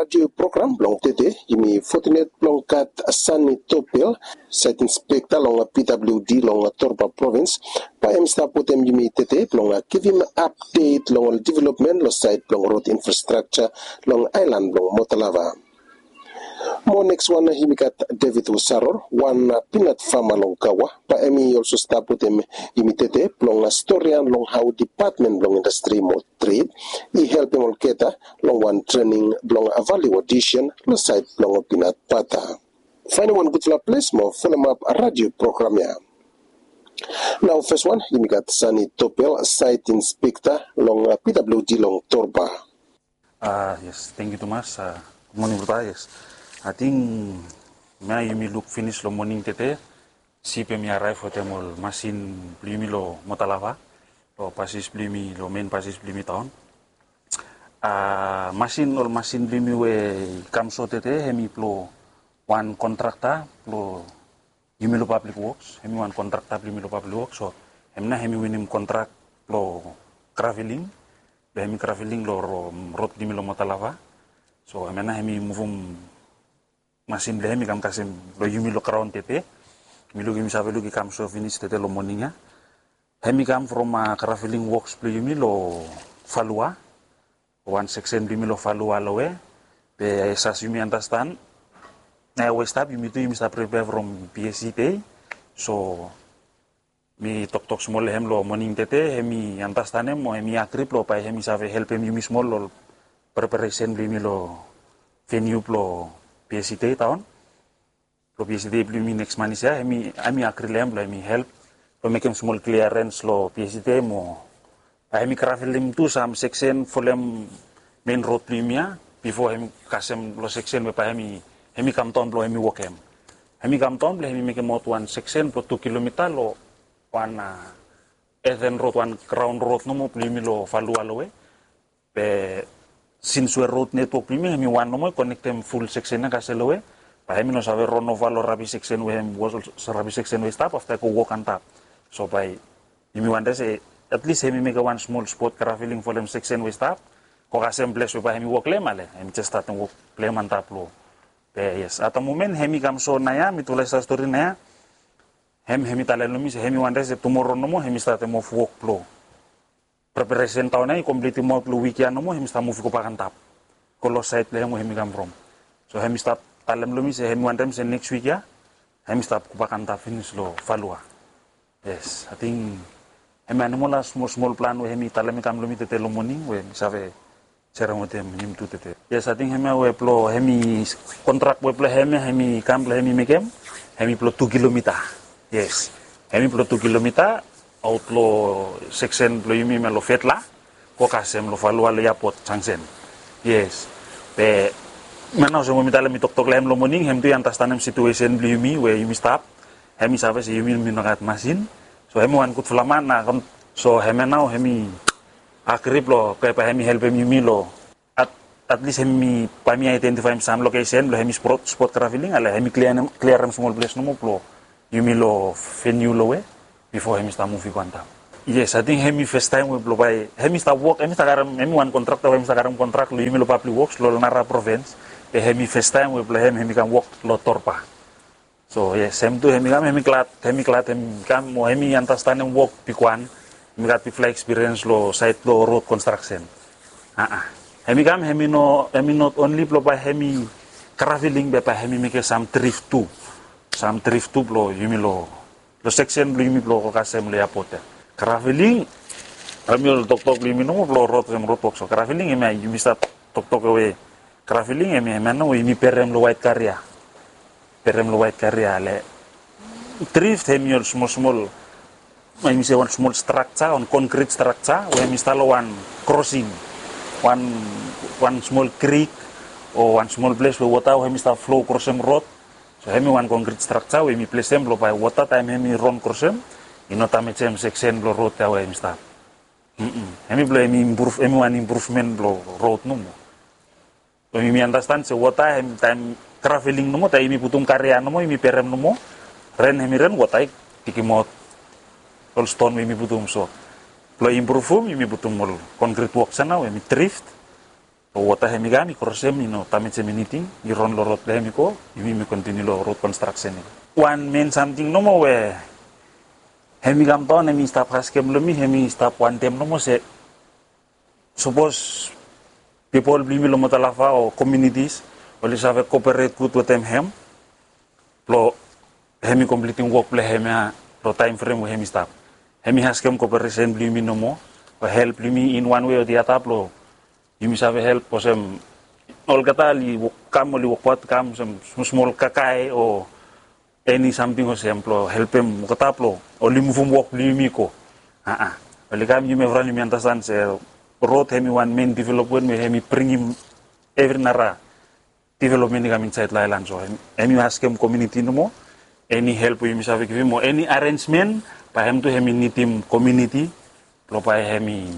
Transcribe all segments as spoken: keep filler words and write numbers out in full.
Radio program blong tede, yumi fotinet blong gat Sani Topel, Site Inspekta long P W D long Torba Provins, bae hem stap wetem yumi tede blong givim apdet long ol developmen long sait blong rod infrastrakja long aelan blong Motalava. Mo neks wan yumi gat David Wesaror, wan pinat fama long Kawa, bae hemi olso stap wetem yumi tede blong storian long hao Depatmen blong Indastri mo Tred i helpem olgeta long wan trening blong value addition long sait blong pinat bata. Faenem wan gudfala ples mo folem ap radio program ya. Nao fes wan yumi gat Sani Topel, Site Inspekta long P W D long Torba. A yes, tangkiu tumas. Gud moning brata. Yes, ating hemia yumi luk finis long moning tede. Sip hemi araev wetem ol masin blong yumi long Motalava, long pasis blong yumi, long men pasis blong yumi taon. A masin, ol masin blong yumi we i kam so tede, hemi blong wan kontrakta blong yumi long Pablik Woks. Hemi wan kontrakta blong yumi long Pablik Woks. So hem nao hemi winim kontrak blong graveling, blong hemi graveling long rod blong yumi long Motalava. So hem nao hemi muvum masin blong hem i kam kasem long yumi long graon tede. Mi luk, yumi save luk i kam so finis tede long moning ya. Hem i kam from graveling woks blong yumi long Falua, wan seksen blong yumi long Falua lowe. Be as yumi andastan, naoia we i stap yumi tu yumi stap prepare from P S E day. So mi toktok smol long hem long moning tede, hem i andastanem mo hem i agri blong bae hem i save helpem yumi smol long preparesen blong yumi long veniu blong P S E day taon. Blong P S E day blong yumi neks manis ya, hem i agri long hem blong hem i help blong mekem smol kliarens long P S E day mo bae hem i gravelim tu sam seksen folem men rod blong yumi ya. Bifo hem i kasem long seksen we bae hem i, hem i kamdaon blong hem i wokem. Hem i kamdaon blong hem i mekemaot wan seksen blong tu kilomita long wan earthen rod, wan graon rod nomo blong yumi long Falua lowe. Be sins we rod netwok blong yumi hem i wan nomo i konektem ful seksen ya kasem lowe, bae hem i no save ron ova long rabis seksen we hem wos, rabis seksen we i stap afta i go wok antap. So bae yumi wantem se atlis hem i mekem wan smol spot graveling folem seksen we i stap, go kasem ples we bae hem i wok long hem, ale hem i jes statem wok blong hem antap long. Be yes, at the moment hem i kam so naoia, mitufala i stap stori naoia. Hem, hem i talem long mi se hem i wantem se tumoro nomo hem i statem of wok blong preparesen taon ya i komplitimaot long wik ya nomo, hem i stap muv i gobak antap, go long saed blong hem we hem i kam from. So hem i stap talem long mi se hem i wantem se neks wik ya hem i stap gobak antap finis long Falua. Yes, ating hemia nomo la smol smol plan we hem i talem i kam long mi tede long moning we mi save serem wetem yumi tu tede. Yes, ating hemia we blong hem i kontrak we blong hem ya hem i kam blong hem i mekem, hem i blong tu kilomita. Yes, hem i blong tu kilomita aot long seksen blong yumi hemia long Fetla go kasem long Falua long eapot jangsen. Yes, be hemia nao olsem we mi talem, mi toktok long hem long moning, hem tu i andastanem situesen blong yumi we yumi stap. Hem i save se yumi, yumi no gat masin. So hem i wan gudfala man na. So hemia nao hem i agri blong bae hem i helpem yumi long at, atlis hem i, bae mi aedentifaem sam lokesen blong hem i spot, spot graveling, ale hem i kliarem, kliarem smol ples nomo blong yumi long veniu lowe bifo hem i stap muv i go antap. Yes, ating hem i festaem we blong bae hem i stap wok, hem i stap karem, hem i wan kontrakta we hem i stap karem kontrak long yumi long Pablik Woks long nara provins. Be hem i festaem we blong hem, hem i kam wok long Torba. So yes, hem tu hem i kam, hem i glad, hem i glad hem i kam mo hem i andastanem wok bigwan. Hem i gat bigfala ekspiriens long saed blong rod konstraksen. A, hem i kam, hem i no, hem i not onli blong bae hem i graveling be bae hem i mekem sam drift tu. Sam drift tu blong yumi long, long seksen blong yumi blong go kasem long eapot ya. Graveling, hemi ol toktok blong yumi nomo blong rod, hem rodwok. So graveling hemia yumi stap toktok we graveling hemia, hemia nao we yumi berem long waet karia. Berem long waet karia, ale drift hemi ol smol smol, yumi se wan smol strakja, wan konkrit strakja we hemi stap long wan krosing, wan, wan smol krik o wan smol ples we wota we hemi stap flo krosem rod. So hemi wan konkrit strakja we yumi plesem blong bae wota taem hemi ron krosem i no damejem seksen blong rod ya we hemi stap. Hemi blong hemi improve, hemi wan impruvmen blong rod nomo. Blong yumi andastan se wota hem, taem graveling nomo, taem yumi putum karia nomo, yumi berem nomo, ren hemi ren, wota i pikimaot ol ston we yumi putum. So blong impruvum yumi putum ol konkrit woks ya nao we hemi drift. Lo wota hemi kam i krosem i no damejem eniting, i ron lo rod blong hem i go, yumi mi kontiniu lo rod konstraksen ya. Wan men samting nomo we hemi kam daon hemi stap askem lo mi, hemi stap wantem nomo se sapos pipol blong yumi lo Motalafa o komunitis oli save koporet gud wetem hem blo hemi komplitim wok blong hem ya lo taem frem we hemi stap. Hemi askem koporesen blong yumi nomo o help blong yumi in wan wei o the other blo yumi save help olsem olgeta oli kam oli wokbaot kam olsem smol smol kakae o eni samting olsem blo helpem olgeta blo oli muvum wok blong yumi go. Aa, oli kam yumi evriwan yumi andastan se rod hemi wan men developmen we hemi bringim evri nara developmen i kam insaed lo aelan. So hemi askem komuniti nomo eni help we yumi save givim o eni arensmen, bae hem tu hemi nidim komuniti blo bae hemi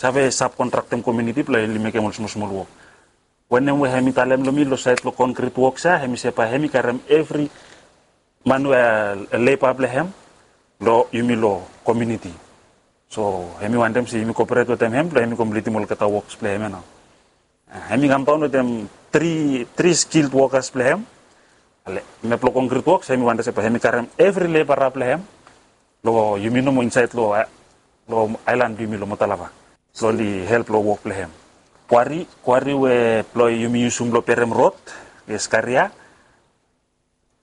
save sabkontraktem komuniti blo oli mekem ol smol smol wok. Wanem we hemi talem lo mi lo saed lo konkrit woks ya, hemi se bae hemi karem evri man we leba blong hem lo yumi lo komuniti. So hemi wantem se yumi koporet wetem hem blo hemi komplitim olgeta woks blong hem ya nao. Hemi kam daon wetem tri tri skilled wokas blong hem. Ale mep lo konkrit woks hemi wantem se bae hemi karem evri lebara blong hem lo yumi nomo insaed lo aelan blong yumi lo Motalafa blo oli help lo wok blong hem. Kwari kwari we blo yumi yusum blo berem rod, yes, karia.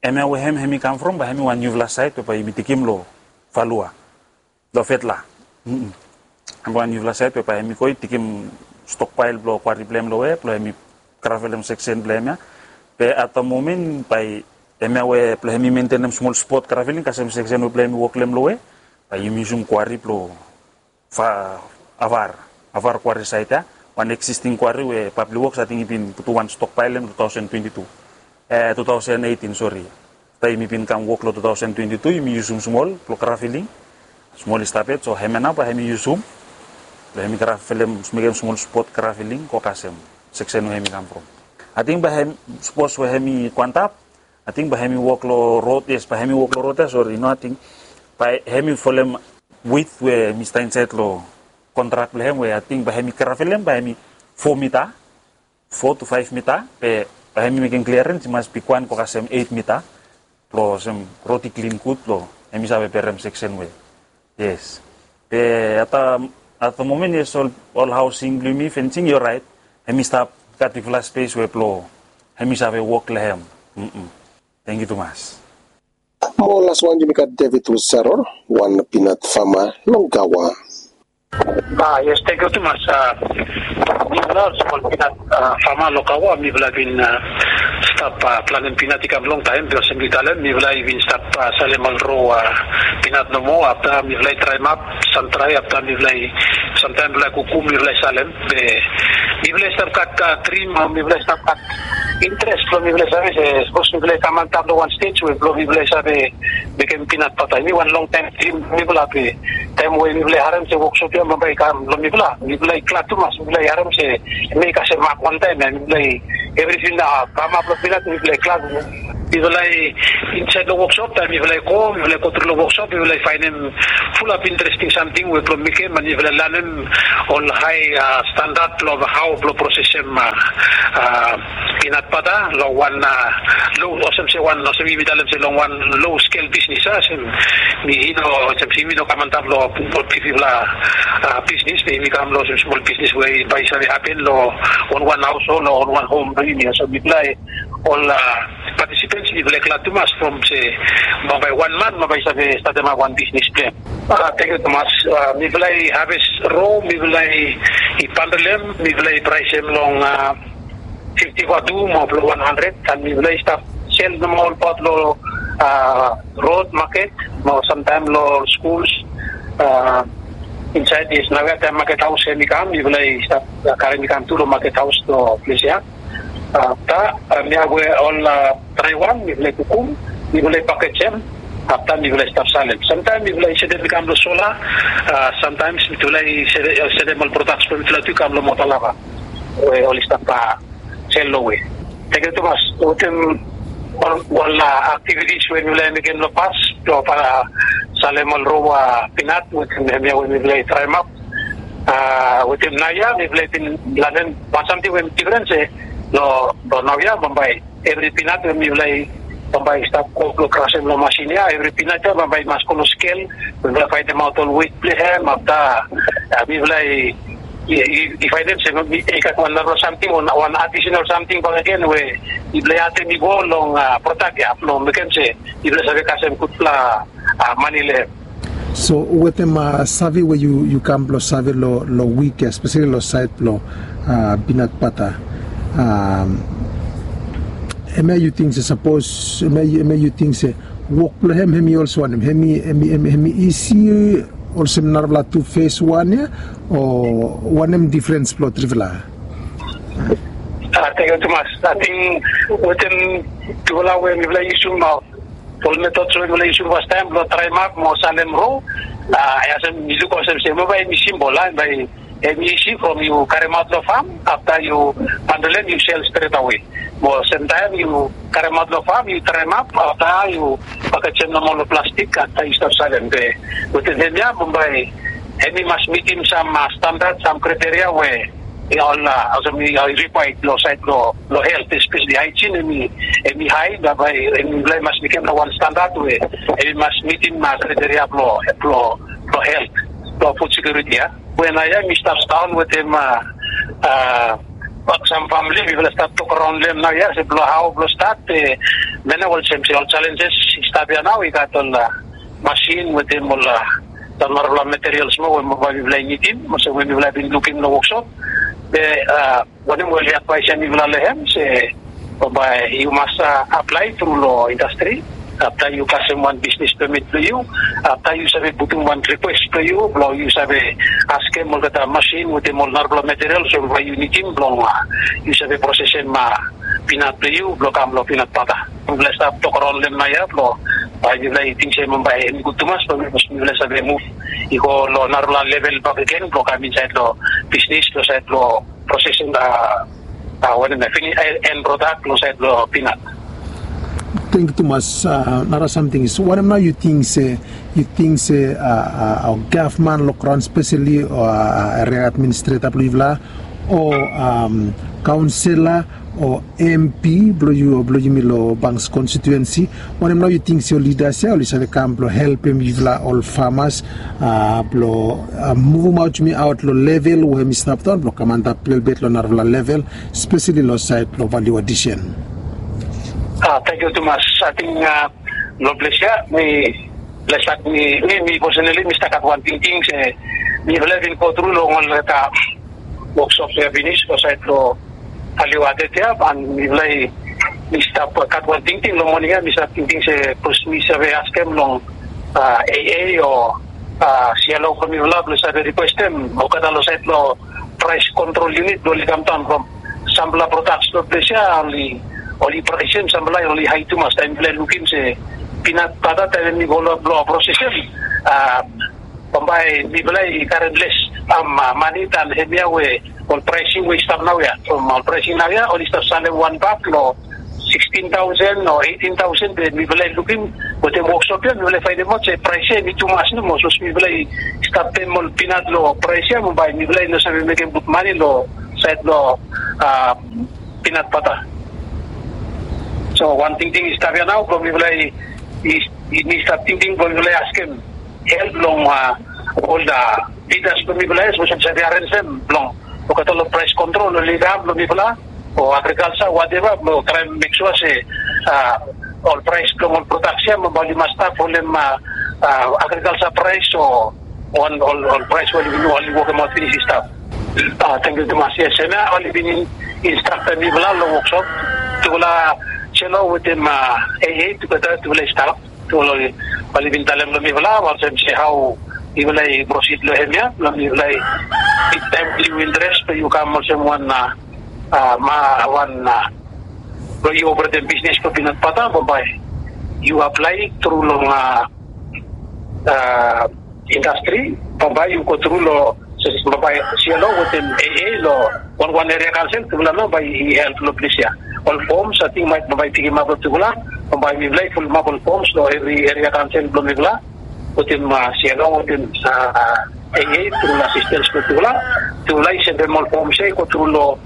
Hemia we hem hemi kam from bae hemi wan niufala saed we bae yumi tikim lo Falua, lo Fetla. Hem wan niufala saed we bae hemi go i tikim stokpael blo kwari blong hem lo we blo hemi gravelem seksen blong hem ya. Be at the moment bae hemia we blo hemi mentenem smol spot graveling kasem seksen we blo hemi wok long hem lo we bae yumi yusum kwari blo Avar, Avar kwari saed ya, wan eksisting kwari we Public Works ating i bin putum wan stokpael long tu taosen twenti tu, e, tu taosen eitin, sori. Afta yumi bin kam wok long tu taosen twenti tu yumi yusum smol blo graveling. Smol i stap yet, so hemia nao bae hemi yusum blo hemi gravelem, mekem smol spot graveling go kasem seksen we hemi kam from. Ating bae hem, sapos we hemi go antap, ating bae hemi wok long rod, yes, bae hemi wok long rod ya, sori, no, ating bae hemi folem wit we hemi stap insaed long kontrak blong hem we ating bae hemi gravelem bae hemi fo mita, fo tu faef mita, be bae hemi mekem kliarens i mas bigwan go kasem eit mita blo olsem rod i klin gud blo hemi save berem seksen we. Yes. Be at the, at the moment, yes, ol, ol haosing blong yumi, fensing i oraet. Hemi stap gat bigfala spes we blo hemi save wok long hem. Tangkiu tumas. Mo las wan yumi gat David Wesaror, wan pinat fama long Gawa. A, yes, tangkiu tumas. A, mifala olsem ol pinat, a, fama long Gawa, mifala bin, a, stap, a, planem pinat i kam longtaem, be olsem yu talem, mifala i bin stap, a, salem ol ro, a, pinat nomo, afta mifala i draemap, sam drae, afta mifala i, samtaem mifala i kukum, mifala i salem, be mifala i stap gat, a, drim, a, mifala i stap gat interes blo mifala i save se sapos mifala i kam antap long wan stej we blo mifala i save mekem pinat bata. Hemi wan longtaem drim blo mifala be taem we mifala i harem se woksop ya bambae i kam long mifala, mifala i glad tumas, mifala i harem se hemi kasem mak wantaem ya, mifala i evriting nao kamap long pinat, mifala i glad. Mifala i insaed long woksop, taem mifala i go, mifala i gotru long woksop, mifala i faenem fulap interesting samting we blo mekem, mo mifala i lanem ol hae, a, standad blo hao blo prosesem, a, a, pinat bata long wan, a, lo, olsem se wan, olsem yumi talem se long wan lo skel bisnis, a, olsem mi, i no, olsem se yumi no kam antap long ol bigfala, a, bisnis, be yumi kam long olsem smol bisnis we bae i save hapen long wan wan haoshol o wan wan hom blong yumi. So mifala i ol, a, patisipens, mifala i glad tumas from se bambae wan man bambae i save statemap wan bisnis blong hem. A, tangkiu tumas. A, mifala i haves ro, mifala i, i bandel hem, mifala i praesem long, a, fifti vatu mo blo wan handred, an mifala i stap sel nomo olbaot long, a, rod maket mo samtaem long skuls, a, insaed, yes, naoia taem maket haos hemi kam, mifala i stap, a, karem i kam tu long maket haos long ples ya. Afta, a, mifala we ol, a, draewan mifala i kukum, mifala i pakejem, afta mifala i stap salem. Samtaem mifala i setem i kam long sola, a, samtaem mifala i sete-, setem ol prodaks blong mifala tu i kam long Motalafa we oli stap, a, sel long we. Tangkiu tumas wetem ol, ol, a, aktivitis we mifala i mekem long pas, long, a, salem ol ro, a, pinat wetem hemia we mifala i draemap. Wetem naoia mifala i bin lanem wan samting we hem difren se long naoia bambae evri pinat we mifala i bambae i stap go blong krasem long masin ya, evri pinat ya bambae i mas go long skel. Mifala i faenemaot ol wet blong hem afta mifala i faenem se i gat wan narafala samting o wan adisenal samting bakegen we mifala i atem i go long prodak ya blong mekem se mifala i save kasem gudfala mane long hem. So wetem save we yu kam blong save long wik ya espeseli long saed blong pinat bata, hemia yu ting se sapos hemia yu ting se wok blong hem hemi olsem wanem, hemi isi olsem narafala tu fes wan ya o wanem difrens blong trifala? Tengkiu tumas. Ating wetem tufala we mifala i yusum ol metod we mifala i yusum fastaem blong traem ap mo salem ro, ya olsem mi luk olsem se mo bae hemi simbol a bae hemi isi from yu karemaot long fam afta yu handel hem yu sel stret awe. Mo semtaem yu karemaot long fam yu traem ap afta yu pakejem long ol plastik afta yu stap salem be wetem hemia bambae hemi mas mitim sam standat sam kriteria we ol olsem i rikwaed long saed long health espeseli haejin hemi hae bambae hemi mas mekem long wan standat we hemi mas mitim kriteria blong helt blong fud sekiuriti ya. We naoia mi stap daon wetem sam famili mifala stap tok raon long hem naoia se blong hao blong stat be mena olsem se ol jalenjes i stap ya nao i gat ol masin wetem ol narafala materials moa we mifala i nidim olsem we mifala i bin lukim long woksop. Be wanem we oli advaesem mifala long hem se bambae yu mas aplae tru long indastri afta yu kasem wan bisnis pemit blong yu afta yu save putum wan rikwes blong yu blong yu save askem olgeta masin wetem ol narafala materials we bambae yu nidim blong yu save prosesem pinat blong yu blong kam long pinat bata. Mifala i stap tok raon long hem naoia blong bae mifala i ting se bambae hem i gud tumas blong mifala i save muv i go long narafala level bakegen blong kam insaed long bisnis long saed blong prosesem wanem ya finis en prodak long saed blong pinat. Tengkiu tumas. Nara samting is wanem nao yu ting se yu ting se gavman long graon speseli o eria administreta blong yufala o kaonsela o mp blong yu o blong yumi long bangs konstituensi, wanem nao yu ting se ol lidas ya oli save kam blong helpem yufala ol famas blong muvumaot yumi aot long level we hem i stap daon blong kam antap lelebet long narafala level speseli long saed blong valiu adisen? Tengkiu tumas. Ating long ples ya mi ples gat mi mi mi poseneli mi stap gat wan tingting se mifala i bin gotru long olgeta woksop ya finis long saed long valiu adet ya an mifala i mi stap gat wan tingting long moning ya mi stap tingting se bikos mi save askem long aa o sialo blong mifala blong save rikwestem olgeta long saed long praes kontrol yunit blong oli kamdaon from sampela prodaks long ples ya oli oli praesem sampela oli hae tumas taem mipela i lukim se pinat bata taem em i go long blong prosesem a bambae mipela i karem les mane dan hemia we ol praesing we i stap naoia from ol praesing naoia oli stap salem wan bak long sixteen thousand o eighteen thousand be mipela i lukim wetem woksop ya mipela i fainemaot se praes ya em i tumas nomo sapos mipela i stap pem ol pinat long praes ya mo bae mipela i no save mekem gud mane long saed long a pinat bata. So wan tingting i stap ya nao blong mipela i i mi stap tingting blong mipela i askem help long a ol a lidas blong mipela ya sapos em save arenjem blong olgeta long praes kontrol oli kam blong mipela o agrikalsa wateva blong traem mek sua se a ol praes blong ol prodaks ya mo bae oli mas stap folem a agrikalsa praes o ol ol praes we oli bin oli wokemaot finis i stap. Tengkiu tumas. Yes, hemia oli bin instraktem mipela long woksop tufala selo wetem a aa tugeta tufala i stap tufala oli bin talem long mipela olsem se hao mipela i prosid long hemia blong mipela i bigtaem yu interes blong yu kam olsem wan a ma wan a blong yu operetem bisnis blong pinat bata bambae yu aplae tru long a a indastri bambae yu go tru long bambae sialo wetem aa long wanwan eria kansel tufala nao bae i help long ples ya. Ol foms ating maet bambae i pikimap long tufala bambae mipela i fulumap ol foms long evri eria kansel blong mipela wetem sialo wetem a Ea tru long asistens blong tufala. Tufala i sendem ol foms ya i go tru long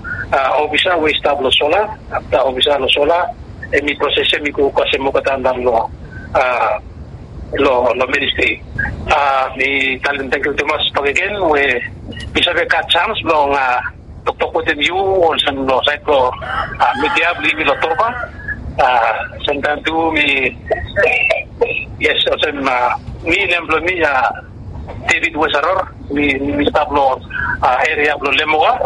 ofisa we i stap long sola. Afta ofisa long sola em i proses em i go kasem olgeta antap long long ministri. Mi talem tangkiu tumas bakegen we mi save gat sans blong toktok wetem yu olsem long sait blong midia blong yumi long Torba. Semtaem tu mi, yes, olsem mi, nem blong mi David Wesaror. Mi stap long eria blong Lemoka.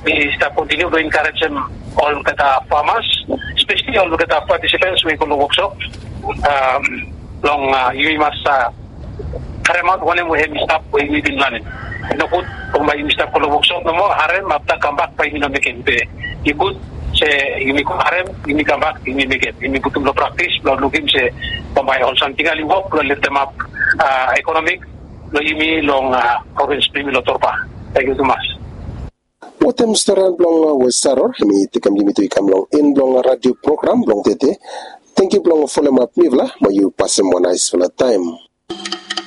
Mi stap kontiniu blong enkarejem olgeta famas, espesli olgeta patisipens we i go long woksop long yumi mas karemaot wanem we hem i stap we yumi bin lanem. Nogud bambae yumi stap go long woksop nomo, harem afta kambak bae yumi no mekem. Be i gud se yumi go harem, yumi kambak, yumi mekem, yumi putum long praktis blong lukim se bambae ol samting ya oli wok blong leftemap ekonomik blong yumi long provins blong yumi long Torba. Tangkiu tumas. Wetem stori blong Wesaror, mi tekem yumi tu i kam long en blong radio program blong tede. Tangkiu blong folem ap mifala, mo yu pasem wan naesfala taem.